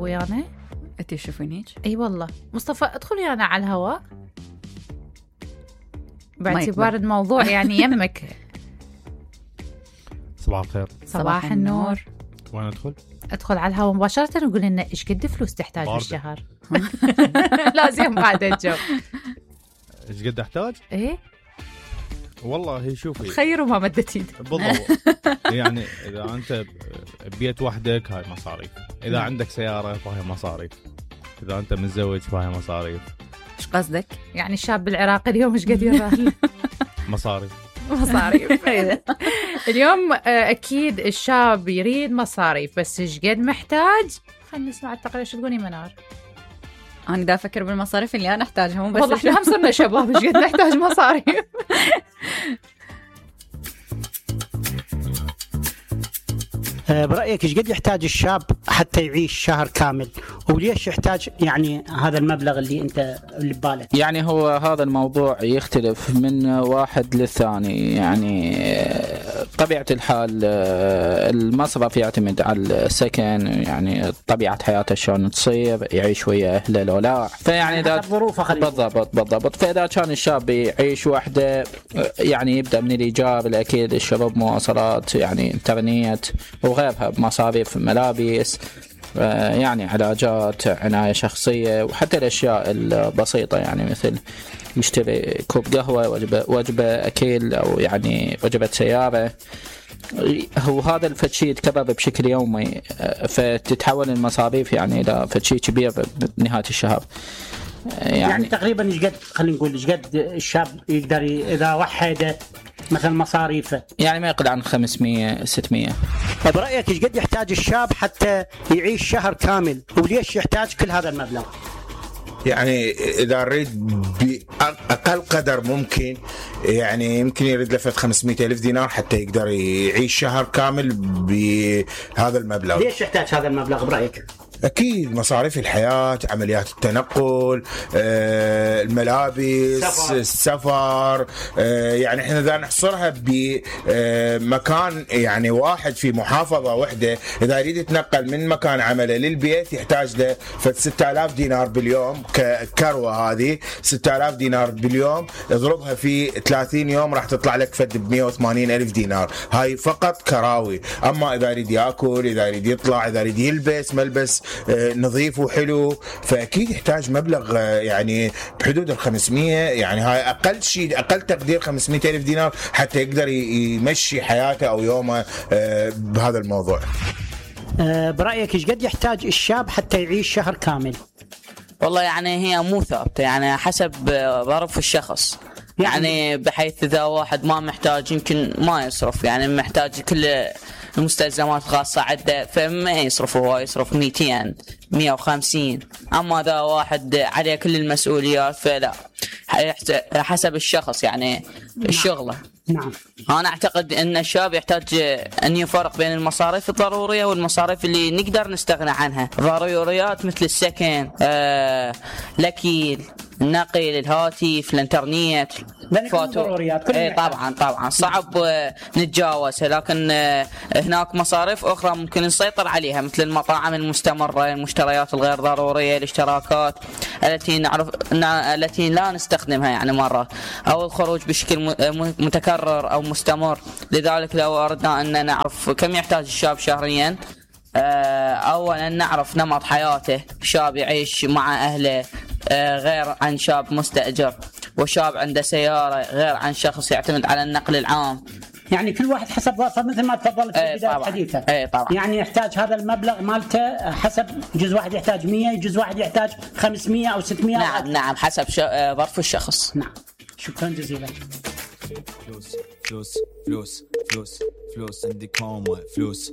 ويانا. انت تشوفينيش؟ اي والله. مصطفى ادخل ويانا على الهواء باعتبار الموضوع يعني يمك. صباح الخير. صباح النور. وين ادخل؟ ادخل على الهواء مباشرة وقول لنا ايش قد فلوس تحتاج بالشهر. لازم بعد الجو. ايش قد احتاج؟ ايه والله شوفي خير وما مدت ايدك. بالضبط. يعني اذا انت ببيت وحدك هاي مصاريف، اذا عندك سيارة فهي مصاريف، اذا انت متزوج فهي مصاريف. ايش قصدك؟ يعني الشاب العراقي اليوم ايش قد يراه؟ مصاريف. اليوم اكيد الشاب يريد مصاريف، بس ايش قد محتاج؟ خلينا نسمع التقرير. شو تقولي منار؟ انا دا افكر بالمصاريف اللي انا احتاجها، مو بس والله احنا هم صرنا شباب ايش قد نحتاج مصاريف. برأيك ايش قد يحتاج الشاب حتى يعيش شهر كامل، وليش يحتاج يعني هذا المبلغ اللي ببالك؟ يعني هو هذا الموضوع يختلف من واحد للثاني. يعني طبيعة الحال المصرف يعتمد على السكن، يعني طبيعة حياته شلون تصير، يعيش ويا أهله لو لا. فيعني إذا ظروفه بالضبط. فإذا كان الشاب يعيش وحده يعني يبدأ من الإيجار الأكيد، الشرب، مواصلات، يعني إنترنت وغيرها، مصاريف ملابس، يعني علاجات، عناية شخصية، وحتى الأشياء البسيطة يعني مثل يشتري كوب قهوة، وجبة أكل، أو يعني وجبة سيارة. هو هذا الفتشي يتكرر بشكل يومي، فتتحول المصاريف يعني إلى فتشي كبير بنهاية الشهر. يعني تقريبا ايش قد، خلينا نقول ايش قد الشاب يقدر اذا وحده مثلا مصاريفه؟ يعني ما يقل عن 500 600. طيب برأيك ايش قد يحتاج الشاب حتى يعيش شهر كامل، وليش يحتاج كل هذا المبلغ؟ يعني إذا أريد بأقل قدر ممكن، يعني يمكن يريد لفت 500,000 دينار حتى يقدر يعيش شهر كامل بهذا المبلغ. ليش يحتاج هذا المبلغ برأيك؟ أكيد مصاريف الحياة، عمليات التنقل، الملابس، السفر. يعني إحنا إذا نحصرها بمكان يعني واحد في محافظة واحدة، إذا يريد يتنقل من مكان عمله للبيت يحتاج له 6000 دينار باليوم ككروة. هذه 6000 دينار باليوم اضربها في 30 يوم راح تطلع لك فد 180,000 دينار. هاي فقط كراوي. أما إذا يريد يأكل، إذا يريد يطلع، إذا يريد يلبس ملبس نظيف وحلو، فأكيد يحتاج مبلغ يعني بحدود 500. يعني هاي أقل شيء، أقل تقدير 500,000 دينار حتى يقدر يمشي حياته أو يومه بهذا الموضوع. برأيك إيش قد يحتاج الشاب حتى يعيش شهر كامل؟ والله يعني هي مو ثابتة، يعني حسب ظرف الشخص. يعني بحيث إذا واحد ما محتاج يمكن ما يصرف، يعني محتاج كل المستلزمات الخاصة عنده فما يصرف، هو يصرف 200 150. أما إذا واحد عليه كل المسؤوليات فلا، حسب الشخص يعني الشغلة. نعم. أنا أعتقد أن الشاب يحتاج أن يفرق بين المصاريف الضرورية والمصاريف اللي نقدر نستغنى عنها. ضروريات مثل السكن، الأكل، النقل، الهاتف، الانترنت، ضروريات. طبعا صعب نتجاوزها، لكن هناك مصاريف أخرى ممكن نسيطر عليها مثل المطاعم المستمرة، المشتريات الغير ضرورية، الاشتراكات التي لا نستخدمها يعني مرة، أو الخروج بشكل متكرر أو مستمر. لذلك لو أردنا أن نعرف كم يحتاج الشاب شهريا، أولا نعرف نمط حياته. شاب يعيش مع أهله غير عن شاب مستأجر، وشاب عنده سيارة غير عن شخص يعتمد على النقل العام. يعني كل واحد حسب ظروفه مثل ما تفضلت في بداية حديثه. طبعا. يعني يحتاج هذا المبلغ مالته حسب، جزء واحد يحتاج 100، جزء واحد يحتاج 500 أو 600. نعم حسب ظرف الشخص. نعم. شكرا جزيلا. فلوس عندي كوم، فلوس